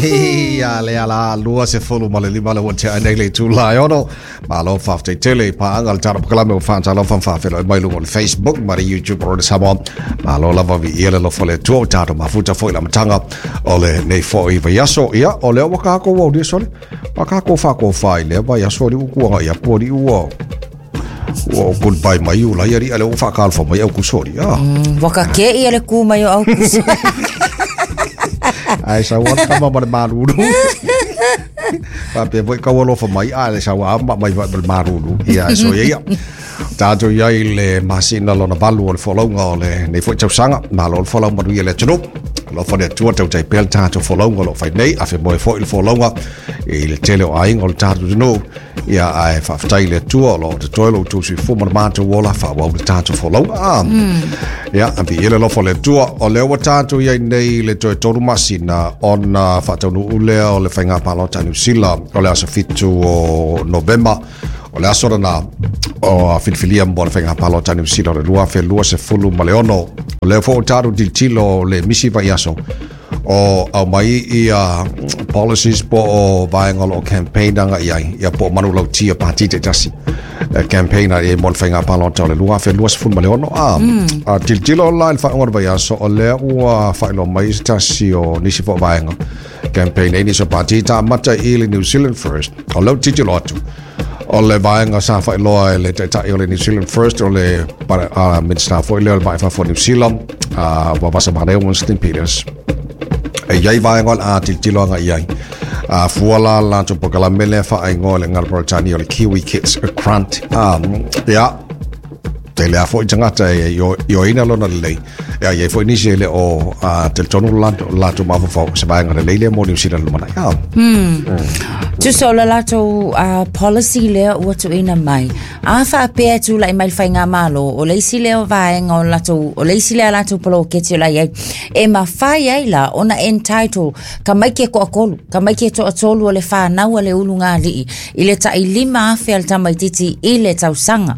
Ia le ala 25 le ua tea nei le itula e 6. Malo faafetai tele i paaga le tatou polokalame ua faatalofa ma faafeiloai mai luga o le Facebook ma le YouTube o le Samoa. Malo lava viia le alofa o le Atua ua tatou mafuta foi i le amataga o lenei foi vaiaso. Ia, o lea ua tatou aulia sole. Ua tatou faakofa i lea vaiaso alii ua tuanai atu alii ua ua goodbye mai Iulai alii a lea ua faatalofa mai Aukuso alii. Ah. Ua kake ia le ku mai o Aukuso. Ai sau atu kama ma le malulu. Faapea foi kau alofa mai a le sau a ma mai ma le malulu. Ia so ia ia. Tatou i ai i le masina lona valu o le folauga o lenei foi tausaga. Malo le folau manuia le atunuu. Alofa le Atua tautai pea le tatou folauga o lo o fai nei. Afe moe foi le folauga i le tele o aiga o le tatou atunuu. Ia ae faafetai i le Atua o lo o totoe lo outou soifua ma le matou ola faaauau le tatou folauga. Ah. Ia, viia le alofa o le Atua. O lea ua tatou i ai nei i le toe 3 masina ona faataunuu lea o le faiga palota a Niu Sila o le aso 7 o Novema. O le aso lena o filifilia mo le faiga palota a Niu Sila o le 2026. O lea foi ua tatou tilotilo le misi vaiaso o aumai ia policies po o vaega o lo o campaign agai i ai, ia po o manulauti a pati taitasi e campaign ai mo le faiga palota o le 2026. A, a tilotilo la i le faaiuga o le vaiaso, o lea ua faailoa mai se tasi o nisi foi o vaega campaign ai nisi o pati taamata i le New Zealand First. O lea ua tilotilo atu o le vaega sa faailoa e le taitai o le New Zealand First o le Minista foi lea o le Vaa i Fafo o New Zealand, ua vasa manaia Winston Peters. E i ai vaega o le a tilotilo agai i ai. A fua la latou polokalame lea faaigoa i le agaga Peretania o le Kiwi Kids Grant. Ia, tele lava foi tagata e ioeina lona lelei. Ia, i ai foi nisi e le o talitonu lo latou mafaufau se vaega lelei lea mo Niu Sila i le lumanai. Ah. Tusa o le latou policy lea ua tuuina mai. A faapea e tulai mai le faigamalo, o le isi lea o vaega o latou, o le isi lea latou poloketi o la e i ai, e mafai ai la ona entitle tamaiti e toatolu, tamaiti e toatolu o le fanau a le ulugalii i le tai 5,000 a le tamaitiiti i le tausaga.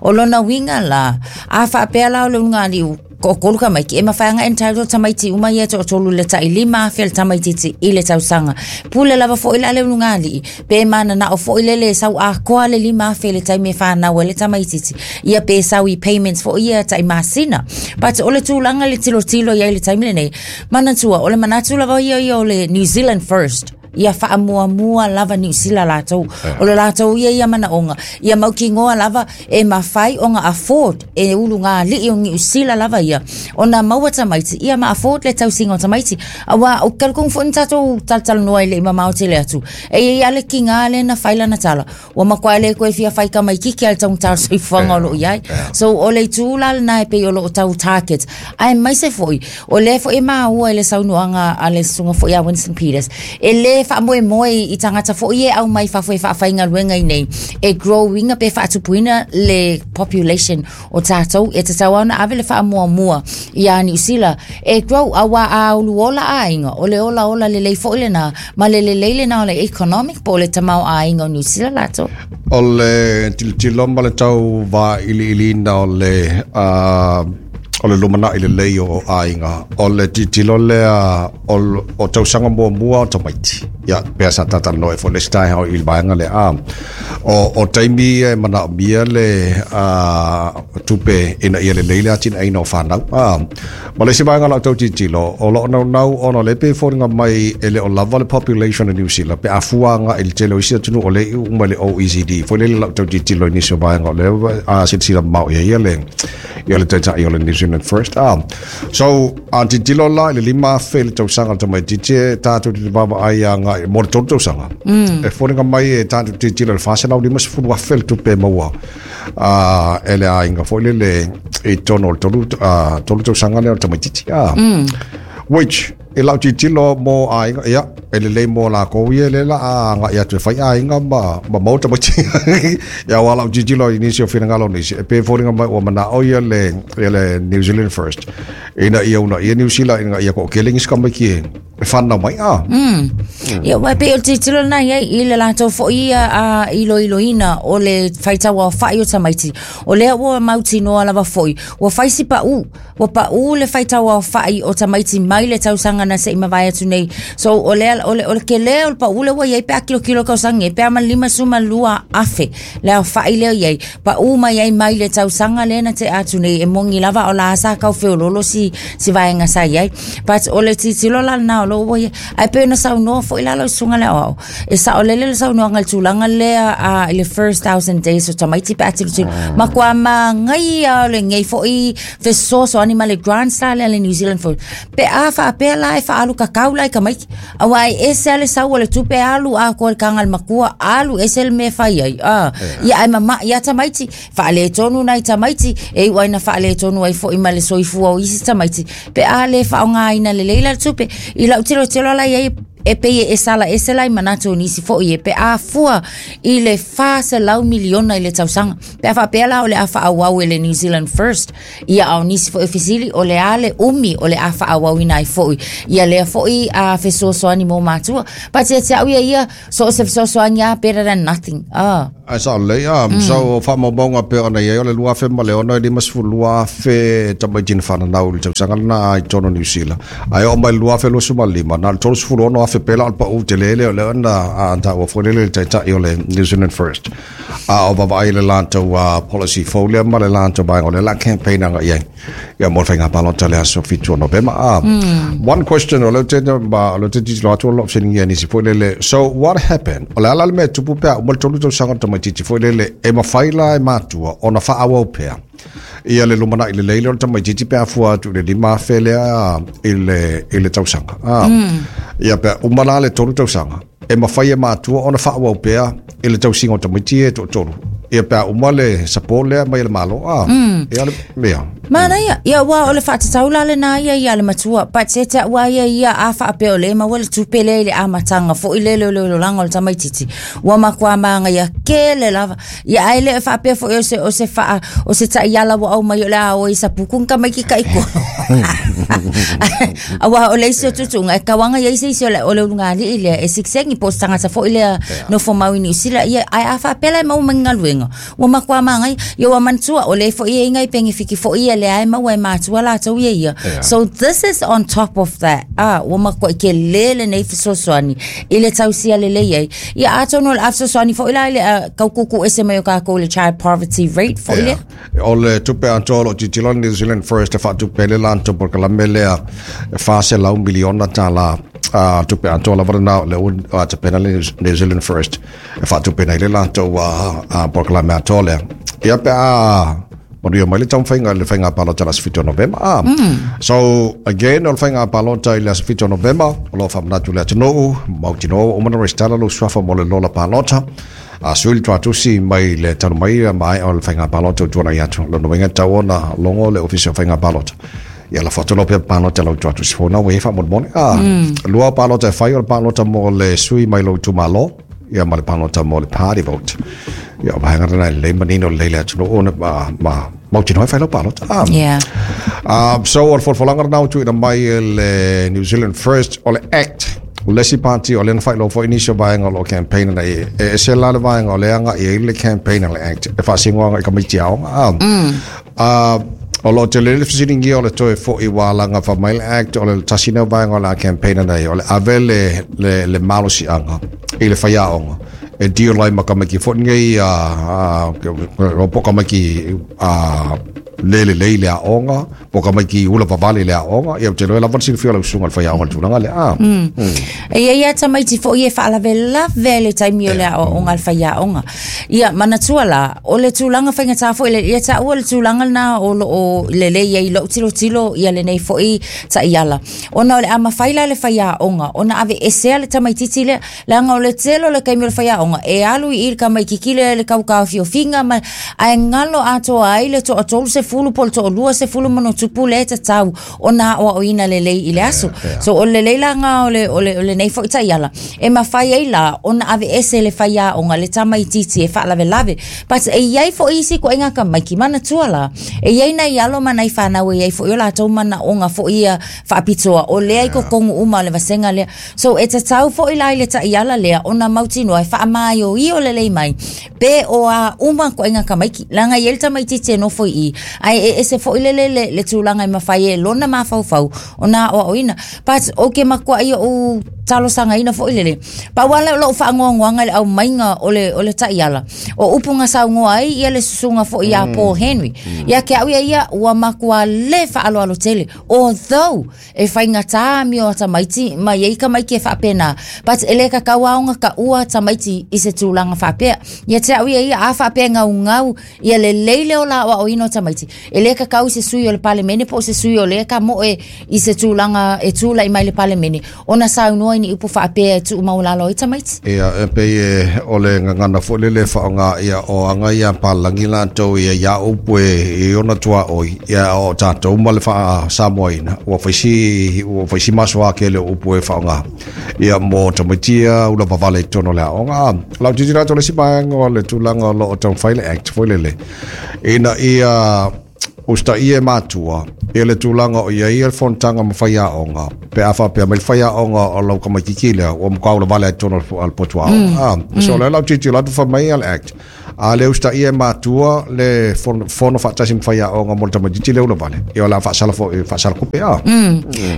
O lona uiga la, a faapea la o le ulugalii toatolu tamaiti, e mafai ona entitle tamaiti uma ia e toatolu i le tai 5,000 a le tamaitiiti i le tausaga. Pule lava foi la le ulugalii, pe mananao foi lele e sau atoa le 5,000 i le taimi e fanau ai le tamaitiiti, ia pe sau i payments foi ia tai masina. But o le tulaga i le tilotilo i ai i le taimi lenei, manatua, o le manatu lava ia ia o le New Zealand first. Ia faamuamua lava Niu Sila latou. O le latou ia ia manaoga, ia mautinoa lava e mafai ona afford e ulugalii o Niu Sila lava ia ona maua tamaiti, ia ma afford le tausiga o tamaiti. Aua ou te talitonu foi na tatou talatalanoa e le i mamao tele atu, e i ai lava le tiga lea na fai lana tala, ua matua le toe fia fai tamaititi a le taugata o le soifuaga o lo o i ai. So o le itu la lena e pei o lo o tau target. Aemaise foi, o lea foi e maua i le saunoaga a le susuga foi a Winston Peters, e le faamoemoe i tagata foi ia e aumai i fafo e faafaigaluega i nei, e grow ina pe faatupuina le population o tatou. E tatau lava ona ave le faamuamua ia Niu Sila e grow, aua a uluola aiga, o le olaola lelei foi lena, ma le lelei lena o le economic po o le tamaoaiga o Niu Sila latou. O le tilotilo ma le tau vailiiliina o le o le lumanai lelei o aiga, o le tilotilo lea o tausaga muamua o tamaiti. Ia, pea sa talatalanoa ai foi le isi taeao i le vaega lea. A, o taimi ia e manaomia le tupe ina ia lelei le atinaeina o fanau. A, ma le isi vaega o lau tau tilotilo, o lo o naunau ona o lea e pei e foliga mai e le o lava le population o Niu Sila pe a fua agai i le tele o isi atunuu o lea e iu uma i le OECD. Foi lele lau tau tilotilo i nisi o vaega o lea silasila mamao i ai ia le ia le taitai o le New Zealand First. Ah, so, a tilotilo la i le 5,000 i le tausaga le tamaitiiti e tatou te vaavaai agai mo le 3 tausaga. E foliga mai e tatou te tilotilo i le 450,000 le tupe e maua e le aiga foi lele i totonu o le 3 tausaga lea o le tamaitiiti. Ah. Which, i lau tilotilo mo aiga, ia, e lelei mo lakou ia lea la a agai atu e fai aiga ma maua tamaiti. Ia aua lau tilotilo i nisi o finagalo o nisi, e pei e foliga mai ua manao ia le, ia le New Zealand First, ina ia uunaia Niu Sila ina ia toatele nisi tamaiti e whanau mai. Ah. Ia, aua e pei o le tilotilo lena i ai i le latou foi ia iloiloina o le faitau aofai o tamaiti. O lea ua mautinoa lava foi, ua fai si paʻu, ua paʻu le faitau aofai o tamaiti mai le tausaga na se i mavae atu nei. So, o lea, o le, o le tele o le paʻu lea ua i ai pe a kilokilo i tausaga nei, pe a ma le 52,000 le aofai lea i ai, paʻu mai ai mai le tausaga lea na tea atu nei, e moni lava o la sa tau feololo si, si vaega sa i ai. But o le tilotilo la lena o lo ua i ai. Ae pei ona saunoa foi la lau susuga le aoao, e saolele le saunoaga i le tulaga lea i le first 1,000 days o tamaiti pe a tilotilo. Matua manaia o lenei foi fesoasoani ma le grants la lea a le New Zealand First. Pe a faapea la e faaalu kakau la i tamaiti, aua e ese lava le sau o le tupe alu atoa i le taga a le matua, alu ese le mea e fai ai. Ia ae mamai lava tamaiti, faaletonu nai tamaiti, e iu ai ina faaletonu ai foi ma le soifua o isi tamaiti, pe a le faaaogaina lelei la le tupe. I lau tilotilo la i ai, e pei e sala ese la i manatu o nisi foi e pe a fua i le 400 miliona i le tausaga. Pe a faapea la o le a faaauau e le New Zealand First, ia a o nisi foi o fesili, o le a le umi o le a faaauauina ai foi ia lea foi a fesoasoani mo matua. But ia te au ia ia, so o se fesoasoani lava, better than nothing. Ah. Ae sao lelei, so o faamaumauga pei ona i ai o le 2006 e 52,000 tamaiti na fananau i le tausaga lena i totonu o Niu Sila. Ae oo mai i le 2025, na o le 36,000 pea la o le pau tele lea o lea na taua foi lele le taitai o le New Zealand First. A o vaavaai i le latou policy fou lea ma le latou vaega o lea o le a campaign agai i ai. Ia mo le faiga palota le aso 7 o Novema. One question o lea ou te ma o lea ou te tilotilo atu o lo o fesiligia e nisi foi lele. So what happened? O le a la le mea e tupu pe a uma le 3 tausaga o le tamaitiiti foi lele e mafai la e matua ona faaauau pea ia le lumanai lelei lea o le tamaitiiti pe a fua atu i le 5,000 lea i le tausaga. Ia pe a uma la le 3 tausaga e mafai e matua ona faaauau pea i le tausiga o tamaiti ia e toatolu. Ia pe a uma le support lea mai e le Malo. Ia le mea. Manaia, ia aua o le faatatau la lena ia ia le matua, but se te au a ia ia a faapea o lea e maua le tupe lea i le amataga foi lele o le olaga o le tamaitiiti, ua matua magaia tele lava. Ia ae le faapea foi o se o se faa o se taiala ua aumai o le a o i sapuku ni tamaiti taitolu. Aua o le isi o tuutuuga e tauaga i ai se isi o le o le ulugalii lea e sikisengi po o se tagata foi lea nofo mau i Niu Sila ia ae a faapea la e maua mai ni galuega ua matua magaia. Ia ua manatua o lea foi e i ai nai penefiti foi ia lea e maua e matua latou ia ia. So this is on top of that. Ah, ua matuai tele lenei fesoasoani i le tausia lelei ai. Ia atonu o le a fesoasoani foi la i le tau tuutuu ese mai o tatou i le child poverty rate foi lea. O le tupe atoa o lo o tilotilo le New Zealand First e faatupe ai le latou polokalame lea e $400 miliona tala tupe atoa lava lena o lea ua tapena le New Zealand First e faatupeina ai le latou polokalame atoa lea. Ia pe a manuia mai le taumafaiga i le faiga palota i le aso 7 o Novema. So again o le faiga palota i le aso 7 o Novema o lo o faamanatu i le atunuu, mautinoa ua uma ona resitala lou suafa mo le lola palota. A sui le tuatusi mai le talu mai maea o le faiga palota ua tuanai atu. Lona uiga e tatau ona logo le Ofisa o Faiga Palota. Ia lafo atu loa pepa palota i lau tuatusi fou na ua i ai faamolemole. Lua palota e fai o le palota mo le sui mai lou itumalo ia ma le palota mo le party vote. Ia o vaega lena e lelei manino lelei le atunuu ona ma mautinoa e fai lau palota. So o le folafolaga lena ua tuuina mai e le New Zealand First o le Act o le isi party o lea na faailoa foi nisi o vaega o lo o campaign ana i e ese la le vaega o lea agai ai le campaign a le Act e faasino agai i tamaiti aoga. O lo o tele le fesiligia o le toe foi ua alaga fai mai le Act o le tasi lea o vaega o le a campaign ana i o le ave le malosiaga i le faiaoga e deal ai ma tamaiti foi nei po o tamaiti le lelei i le aoga po o tamaiti ula vavale i le aoga. Ia ou te iloa e lava le silafia o lau susuga i le faiaoga i le tulaga lea. E i ai lava tamaiti foi e faalavelave i le taimi o le aoaoga a le faiaoga. Ia, manatua la, o le tulaga faigata foi le, ia taua le tulaga lena o lo o lelei ai i lou tilotilo ia lenei foi taiala. Ona o le a mafai la e le faiaoga ona aveesea le tamaitiiti lea, leaga o le tele o le taimi o le faiaoga e alu i i le tamaitiiti lea i le tau taofiofiga ma, ae galo atoa ai le toatolu 30 po o le 20 ma ona tupu lea e tatau ona aoaoina lelei i le aso. So o le lelei la lena o le, o le, o lenei foi taiala, e mafai ai la ona aveese le faiaoga, le tamaitiiti e faalavelave. But e i ai foi isi ituaiga tamaiti, manatua la, e i ai nai alo ma nai fanau e i ai foi o latou manaoga foi ia faapitoa, o lea i totonu uma o le vasega lea. So e tatau foi la i le taiala lea ona mautinoa e faamaioio lelei mai pe o a uma ituaiga tamaiti, leaga e i ai le tamaitiiti e nofo i i, ae e ese foi le, le, le, le tulaga e mafai e lona mafaufau ona aoaoina. But ou te matuai ou talosagaina foi lele, pau lava lea o lou faanoanoaga i le aumaiga o le, o le taiala, o upu na saunoa ai ia le susuga foi ia Paul Henry. Ia te au ia ia, ua matua le faaaloalo tele, although e faigata amio a tamaiti ma i ai tamaiti e faapena, but e le tatau lava ona taua tamaiti i se tulaga faapea. Ia te au ia ia, a faapea e gaugau ia lelei le ola aoaoina o tamaiti, e le tatau i se sui o le Palemene po o se sui o lea tamoe i se tulaga e tulai mai le Palemene ona saunoa i ni upu faapea e tuumaualalo ai tamaiti. Ia, e pei e o le gagana foi lele e faaaoga ia o aga ia palagi latou ia ia upu e i ona tuaoi, ia o tatou ma le faa-Samoaina, ua fai si, ua fai si masoa tele o upu e faaaoga ia mo tamaiti ia ula vavale i totonu o le aoga. Lau tilotilo atu o le isi vaega o le tulaga o lo o taumafai le Act foi lele, ina ia usitaia e matua ia le tulaga o i ai le fonotaga ma faiaoga, pe a faapea mai le faiaoga o lau tamaitiiti lea, ua matua ulavale lava i totonu o le potu aoga. So lea lau tilotilo atu fai mai le Act, a le usitaia e matua le fono faatasi ma faiaoga mo le tamaitiiti lea ulavale, ia o le a faasala foi, faasala tupe a.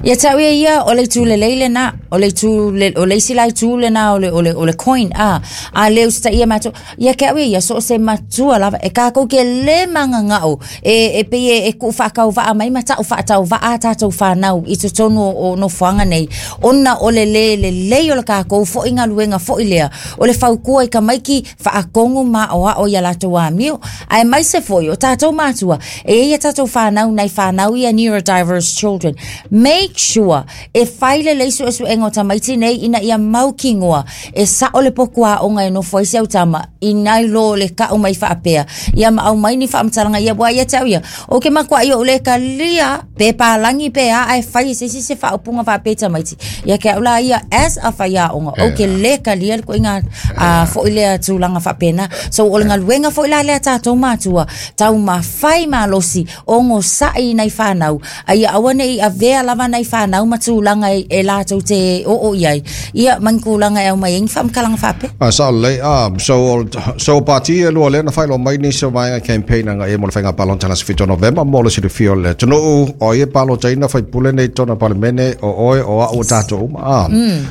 Ia te au ia ia, o le itu lelei lena, o le itu, o le isi la itu lena o le, o le, o le coin, a, a le usitaia e matua. Ia te au ia ia, so o se matua lava, e kākou ke lē magaga'o, e, e pei e, e kuʻu faatauvaa mai ma taʻu faatauvaa a tātou whānau i totonu o, o nofoaga nei, ona o le lē lelei o le kākou foʻi galuega foʻi lea, o le fautua i tamaiti faatonu ma aoao ia latou amio. Aemaise foi o tātou mātua, e i ai a tātou whānau, nai whānau ia neurodiverse children. Make sure e whai lelei suesuega o tamaiti nei ina ia mautinoa e sao le potu aoga e nofo ai si au tama, i nai lo le ka'u mai faapea ia ma aumai ni faamatalaga ia ua ia te au ia o ke makuaʻi oʻu lē kalia pe palagi pe a ae fai e se isi se faaupuga faapea i tamaiti ia ke au la ia as a faiaoga ou ke lē kalia le ituaiga a foʻi lea tulaga faapena. So o le galuega foʻi la lea tatou matua taumafai malosi ogosaʻi i nai fanau a ia aua neʻi avea lava nai fanau ma tulaga e, e latou te oo i ai ia ma ni tulaga e aumai ai ni faamatalaga faapea. A sao lelei, a, so, so pati e lua lea na faailoa mai nisi o vaega campaign aga e mo le faiga palota le aso 7 o Novema mo le silafia o le atunuu o ai e palotaina faipule nei i totonu o le Palemene o oe o a'u o tatou uma a.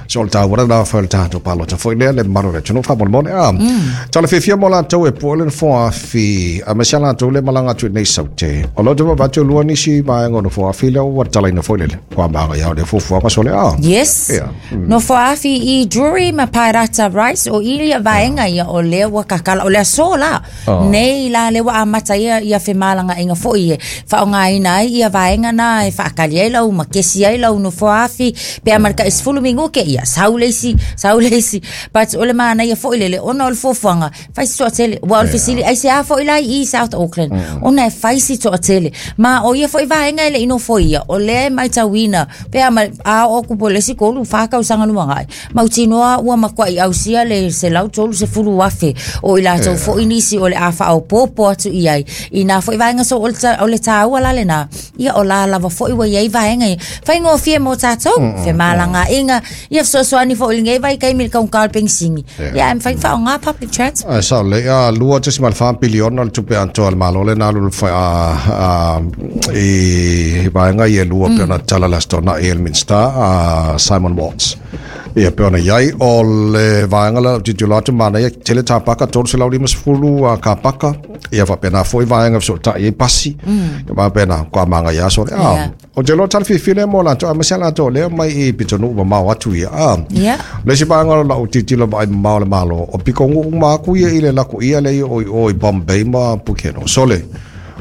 So o le taua lena fai o le tatou palota foi lea le mamalu o le atunuu faamolemole a. Tala fiafia mo latou e pue le nofoafi aemaise a latou le malaga atu i nei Saute. O lo te vaavaai atu e lua nisi vaega o nofoafi lea ua tatalaina foi lele. Kua māngaia o le fuafuaga sole a. Yes. Ia. Nofoafi i Drury ma Paerata Rice o i ia vaega ia o lea ua kakala o le aso la. Nei la lea ua amata ia ia femalagaaiga foi e faaaogaina ai ia vaega na e faakali ai lau ma kesi ai lau nofoafi pe a ma le tai 10 minute ia sau le isi sau le isi. But o le manaia foi lele ona o le fuafuaga fai si toatele ua o le fesili aisea foi la i South Auckland ona e fai si toatele ma o ia foi vaega e le i nofoia o lea e matauina pe a ma a oo atu po o le isi 3 4 tausaga lumanai mautinoa ua matuai ausia le 130,000 o i latou foi nisi o le a faaopoopo atu i ai i nā foi vaega. So o le, o le tāua la lena ia o la lava foi ua i ai vaega ia faigofie mo tātou femalagaaiga ia fesoasoani foi i lenei vaitaimi i le taugata o le penisini ia ae mafai ona faaaoga public transport. Ae sao lelei, a 2.4 piliona le tupe atoa a le Malo lena alu a i vaega ia e lua pei ona tatala i le Aso Toonai e le Minisita a Simon Watts. Ia pei ona i ai o le vaega lea o tilotilo atu manaia tele tapaka 350 a kapaka ia faapena foi vaega e fesootai ai pasi ia faapena kua māngaia aso le a. Ou te iloa tala fiafia lea mo latou, aemaise lava latou o lea mai i pitonuu mamao atu ia. A, le isi vaega o lau tilotilo vaai mamao o le Malo, o pitonuu uma atu ia i le laku ia lea i o i o i Bombay ma Pukeno. Sole,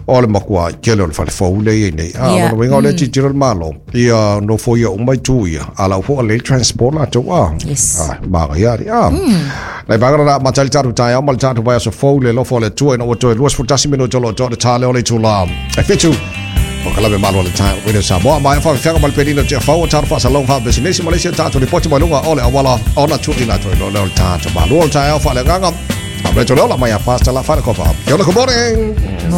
O le matua tele o le fale fou le i nei. A lona uiga o lea e tilotilo le Malo ia nofoia uma itu ia, a la ua foi lelei le transport latou a. Yes. A, manaia alii a. Nai vaega na amata ai le tatou taeao ma le tatou vaiaso fou i le alofa o le Atua ina ua toe 21 minute o lo o toa le ta lea o le itula e 7. O ka lave malo le taeao Radio Samoa. Maea faafefeaga ma le penina o Tiafau o tatou faasalalauga faapisinisi ma le isi a tatou lipoti mai luga o le auala ona tuuina atu ai loa lea o le tatou malo o le taeao faaleagaga. A Rachel Leola mai a Pastor La Whanakopa. Kia ora, good morning.